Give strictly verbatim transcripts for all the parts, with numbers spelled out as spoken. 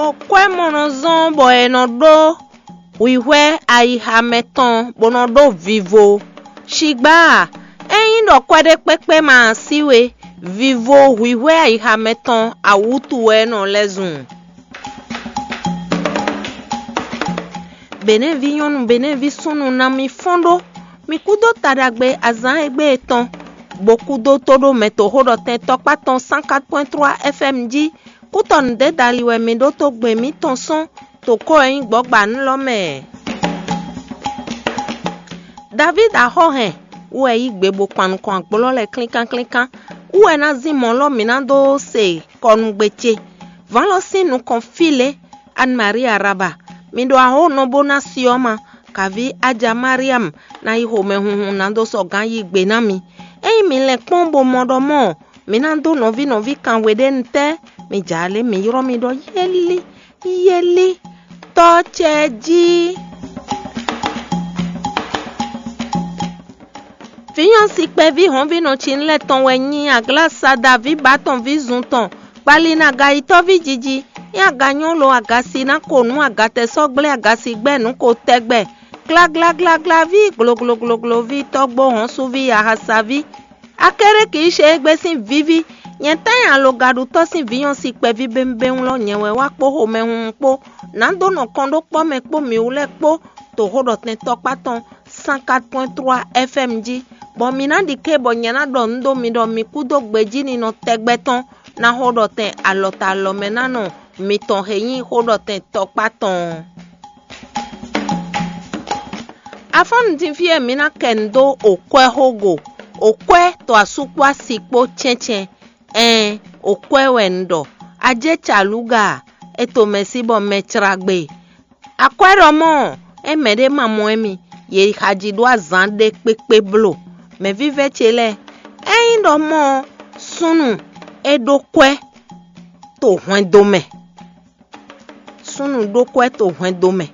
Okwɛ́ mɔ nɔ zɔ́n bɔ è nɔ ɖó hwǐhwɛ́ ayixa mɛ tɔn bó nɔ ɖó vivo. Shigbá a, ényí ɖɔ kwɛ́ ɖé kpékpé ma sí we, vivo hwǐhwɛ́ ayixa mɛ tɔn awǔtu wɛ é nɔ lɛ́ zun. Běnɛ́ví nyɔ́nu, běnɛ́ví súnnu ná mi fɔ́n ɖó. Mi kúdó taɖagbe azǎn e gbé e tɔn, bó kúdó tóɖomɛ toxóɖɔtɛn tɔkpá tɔn cent quatre point trois F M jí. Kútɔnú dé dali wɛ mi ɖótó gbe mǐtɔn sɔ́n, to kó e nyí gbɔ̌gbanu lɔ mɛ. Davídi axɔ́ hɛn wú wɛ yí gbe bó kpan nukɔn agblɔ́ lɛ́ɛ klínkán klínkán. Wú wɛ ná zín mɔ̌ lɔ mǐ ná dó se kɔnugbe ce. Vǎn lɔ sín nukɔn fí lě, Anne Marie Araba, mi ɖo ahónɔ bó ná si ɔ́ ma, kaví Aja Mariam ná yi xomɛhunhun ná dó sɔgán yí gbe ná mi. Ényí mi lɛn kpɔ́n bó mɔ ɖɔ mɔ̌, mi ná dó nɔví nɔví kan we ɖé nu tɛ́, mi jǎ lě mi ylɔ́ mi ɖɔ yélí, yélí, tɔ́ ce jí. Vǐnyɔ́si kpɛví hɔ̌nvínɔ Cinlɛ́ tɔn wɛ nyí aglásada ví bǎ tɔn ví zun tɔn, kpali nú agayitɔ́ví jiji, nyí aganyɔ́ lo agasi ná ko nǔ agatɛsɔ́gblé agasi gbɛ́ nǔ ko tɛgbɛ, glágláglágláví, gloglogloví, tɔ́gbó hɔ̌nsuví, ahasaví. Akéré kì í ṣe égbé sín víví, nyɛ tɛ́ nyɛ alogaɖutɔ́ sín vǐnyɔ́si kpɛví bémbéŋ lɔ nyɛ wɛ wá kpó xomɛhunhun kpó, nǎ dó nɔ kɔn ɖó kpɔ́ mɛ kpó mǐ wú lɛ́ɛ kpó, toxóɖɔtɛn tɔkpá tɔn cent quatre point trois F M jí, bɔ mi ná ɖi ké bɔ nyɛ ná ɖɔ nǔ dó mi ɖɔ mi kúdó gbejíninɔ tɛgbɛ tɔn ná xó ɖɔ tɛn alɔ ta alɔ mɛ ná nɔ mitɔn he nyí xó ɖɔ tɛn tɔkpá tɔn ɔ́. Afɔ́nnu din fí e mi ná kɛ nǔ dó okwɛ́ xó go, okwɛ́ to asú kpó asi kpó cɛ́ncɛ́n, ɛɛn, okwɛ́ wɛ un ɖɔ. Ajé calúga, é to mɛ sí bɔ mɛ cra gbe. Akwɛ́ ɖɔ mɔ̌, é mɛɖé ma mɔ émí, yě yi xají ɖó azǎn ɖé kpékpé bló. Mɛ̌vívɛ́ ce lɛ́ɛ, ényí ɖɔ mɔ̌ ɔ́, súnnu é ɖó kwɛ́ to hwɛndo mɛ. Súnnu ɖó kwɛ́ to hwɛndo mɛ,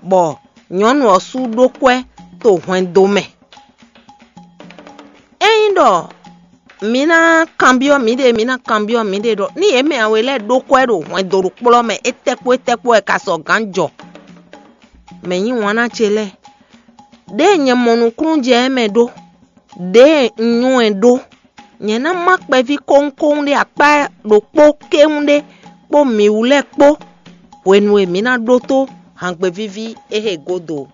bɔ nyɔ̌nu ɔ́ sú ɖó kwɛ́ to hwɛndo mɛ. Ényí ɖɔ mi ná kanbyɔ́ mǐɖée, mi ná kanbyɔ́ mǐɖée ɖɔ ní yě mɛ awe lɛ́ɛ ɖó kwɛ́ ɖo hwɛndo ɖokplɔ́ mɛ, étɛ́kpó étɛ́kpó wɛ ka sɔgǎn jɔ? Mɛ̌ nyí wǎn ná ce lɛ́ɛ? Ɖěe nyɛ mɔ nukúnnú jɛ ɛ mɛ ɖó, ɖěe un nywɛ́ ɛ ɖó, nyɛ ná má kpɛví kówúnkówún ɖé akpá ɖokpó kéwún ɖé kpó mǐ wú lɛ́ɛ kpó, hwenu e mǐ ná ɖótó hǎngbe víví é he gúdo.